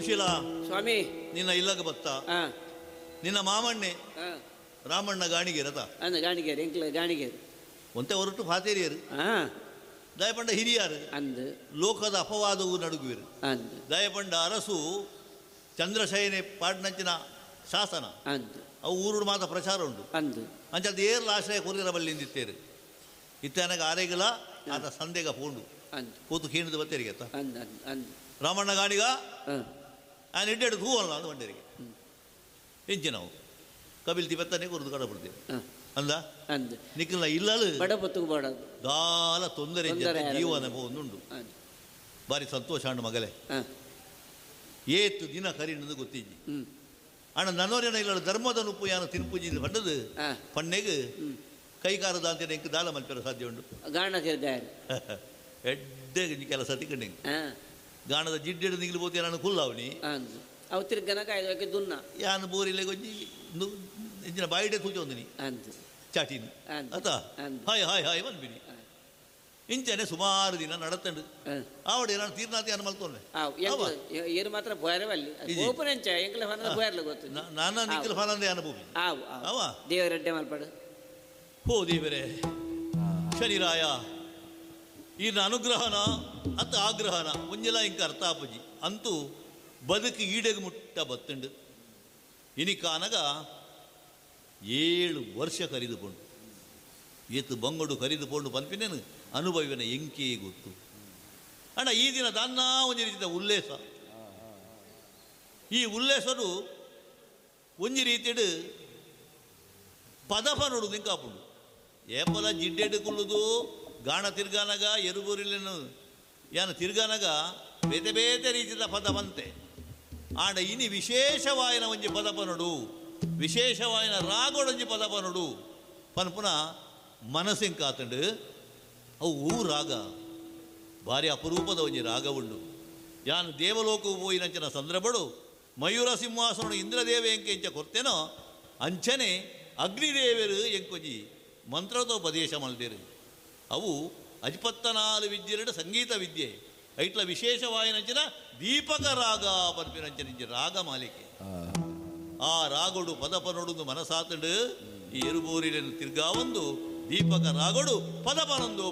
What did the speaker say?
ಸುಶೀಲಾ ಸ್ವಾಮಿ ನಿನ್ನ ಇಲ್ಲಗ ಬತ್ತ ನಿನ್ನ ಮಾಮಣ್ಣೆ ರಾಮಣ್ಣ ಗಾಣಿಗೇರತ ಅಂದ ಗಾಣಿಗೇರು ಎಂಕ್ಲ ಗಾಣಿಗೇರು ಒಂತೆ ಹೊರಟು ಫಾತೇರಿಯರು ದಯಪಂಡ ಹಿರಿಯಾರು ಅಂದ್ ಲೋಕದ ಅಪವಾದವು ನಡುಗುವಿರು ಅಂದ್ ದಯಪಂಡ ಅರಸು ಚಂದ್ರಶಯನೆ ಪಾಡ್ನಂಚಿನ ಶಾಸನ ಅಂದ್ ಅವು ಊರುಡು ಮಾತ ಪ್ರಚಾರ ಉಂಡು ಅಂದ್ ಅಂಚದ ಏರ್ಲ ಆಶ್ರಯ ಕೊರಿಯರ ಬಲ್ಲಿಂದಿತ್ತೇರು ಇತ್ತನಗ ಆರೆಗಲ ಆತ ಸಂದೆಗ ಪೋಂಡು ಅಂದ್ ಕೂತು ಕೀಣದ ಬತ್ತೇರಿಗೆ ಅತ್ತ ಅಂದ್ ಅಂದ್ ಅಂದ್ ರಾಮಣ್ಣ ಗಾಣಿಗ ಆನ್ ಇಡ್ಡೆಡು ತೂವಲ್ಲ ಅಂದ ಬಂಡೇರಿಗೆ ಇಂಚಿನವು ಕಬಿಲ್ ತಿಬತ್ತನೆ ಕೊರದು ಕಡಪಡ್ತೇವೆ ಅಂದ ಅಂದ್ ನಿಕ್ಕಲ್ಲ ಇಲ್ಲಲು ಬಡಪೊತ್ತುಗು ಬೋಡದು ದಾಲ ತೊಂದರೆ ತೊಂದರೆ ಜೀವನ ಒಂದುಂಡು ಬಾರಿ ಸಂತೋಷ ಅಂಡು ಮಗಲೇ ಏತು ದಿನ ಕರಿಣದು ಗೊತ್ತಿಜ್ಜಿ ಅಣ್ಣ ನನ್ನೋರೇನ ಇಲ್ಲ ಧರ್ಮದ ನುಪ್ಪು ಯಾನು ತಿನ್ಪುಜಿ ಪಂಡದು ಪಣ್ಣೆಗ್ ಕೈಕಾರದ ಅಂತ ಎಂಕ್ ದಾಲ ಮಲ್ಪೆರ ಸಾಧ್ಯ ಉಂಡು ಗಾಣ ತಿರ್ಗಾಯರು ಎಡ್ಡೆ ಕೆಲಸ ತಿಕ್ಕಂಡೆ ಗಾಣದ ಜಿಡ್ಡೆಡು ನಿಗ್ಲು ಪೋತಿ ನಾನು ಕುಲ್ಲಾವಣಿ ಅವು ತಿರ್ಗನ ಕಾಯ್ದು ದುನ್ನ ಯಾನು ಬೋರಿಲೆ ಗೊಂಜಿ ಇಂಚಿನ ಬಾಯಿಡೆ ತೂಚೊಂದಿನಿ ಅಂದ್ ಚಾಟಿನಿ ಅತ ಹಾಯ್ ಹಾಯ್ ಹಾಯ್ ಬಂದ್ಬಿನಿ ಇಂಚನೆ ಸುಮಾರು ದಿನ ನಡತಂಡು ಆವಡೆ ನಾನು ತೀರ್ನಾತಿ ಅನ್ನ ಮಲ್ತೊಂಡೆ ಏನು ಮಾತ್ರ ಬೋಯರವಲ್ಲಿ ಓಪನ್ ಎಂಚ ಎಂಕ್ಲ ಫಾನಂದ ಬೋಯರ್ಲ ಗೊತ್ತು ನಾನು ನಿಕ್ಕಲ ಫಾನಂದೆ ಅನುಭವಿ ಆವು ಅವ ದೇವರೆಡ್ಡೆ ಮಲ್ಪಡು ಹೋ ದೇವರೇ ಶನಿರಾಯ ಈನ ಅನುಗ್ರಹನ ಅತ್ತ ಆಗ್ರಹನ ಒಂಜೆಲ ಇಂಕ ಅರ್ಥ ಆಪುಜಿ ಅಂತೂ ಬದುಕು ಈಡೆಗೆ ಮುಟ್ಟ ಬತ್ತುಂಡು ಇನಿಕಾನಗ 7 ವರ್ಷ ಕರಿದುಕೊಂಡು ಏತು ಬಂಗಡು ಕರಿದುಕೊಂಡು ಪನ್ಪಿನೇನು ಅನುಭವಿನ ಎಂಕೇ ಗೊತ್ತು ಅಣ್ಣ. ಈ ದಿನ ದಾನ್ನ ಒಂಜಿ ರೀತಿಯ ಉಲ್ಲೇಸ, ಈ ಉಲ್ಲೇಸನು ಒಂಜಿ ರೀತಿಯಡು ಪದಪ ನೋಡುದು ಇಂಕಾಪುಂಡು. ಏಪಲ ಜಿಡ್ಡೆಡು ಕುಲ್ಲುದು ಗಾಣ ತಿರ್ಗಾನಗ ಎರುಬೂರಿಲೇನು ಯಾನ ತಿರ್ಗಾನಗ ಬೇತೆ ಬೇತೆ ರೀತಿಯ ಪದ ಬಂತೆ. ಆಂಡ ಇನಿ ವಿಶೇಷವಾಯಿನ ಒಂಜಿ ಪದಪ ನೋಡು, ವಿಶೇಷವಾಯಿನ ರಾಗೋಡೊಂಜಿ ಪದಪ ನೋಡು ಪನ್ಪುನ ಮನಸ್ಸಿಂಕಾತಂಡು. ಅವು ಊ ರಾಗ ಭಾರಿ ಅಪರೂಪದ ಒಂಜಿ ರಾಗ ಉಂಡು. ಯಾನು ದೇವಲೋಕವು ಪೋಯಿನಂಚಿನ ಸಂದರ್ಭಡು ಮಯೂರ ಸಿಂಹಾಸನ ಇಂದ್ರದೇವ ಎಂಕೆ ಇಂಚ ಕೊರ್ತೇನೋ ಅಂಚನೆ ಅಗ್ನಿದೇವರು ಎಂಕೊಂಜಿ ಮಂತ್ರೋಪದೇಶ ಮಲ್ದೇರು. ಅವು ಅಜ್ಪತ್ತನಾಲು ವಿದ್ಯೆರಡು ಸಂಗೀತ ವಿದ್ಯೆ ಐಟ್ಲ ವಿಶೇಷವಾಯಿನಂಚಿನ ದೀಪಕ ರಾಗ ಪನ್ಪಿನಂಚಿನ ರಾಗ ಮಾಲಿಕೆ. ಆ ರಾಗೋಡು ಪದಪನೊಡು ಮನಸಾತಂಡು ಈ ಎರುಬೋರಿలను ತಿರ್ಗಾವೊಂದು ದೀಪಕ ರಾಗೋಡು ಪದಪನೊಂದು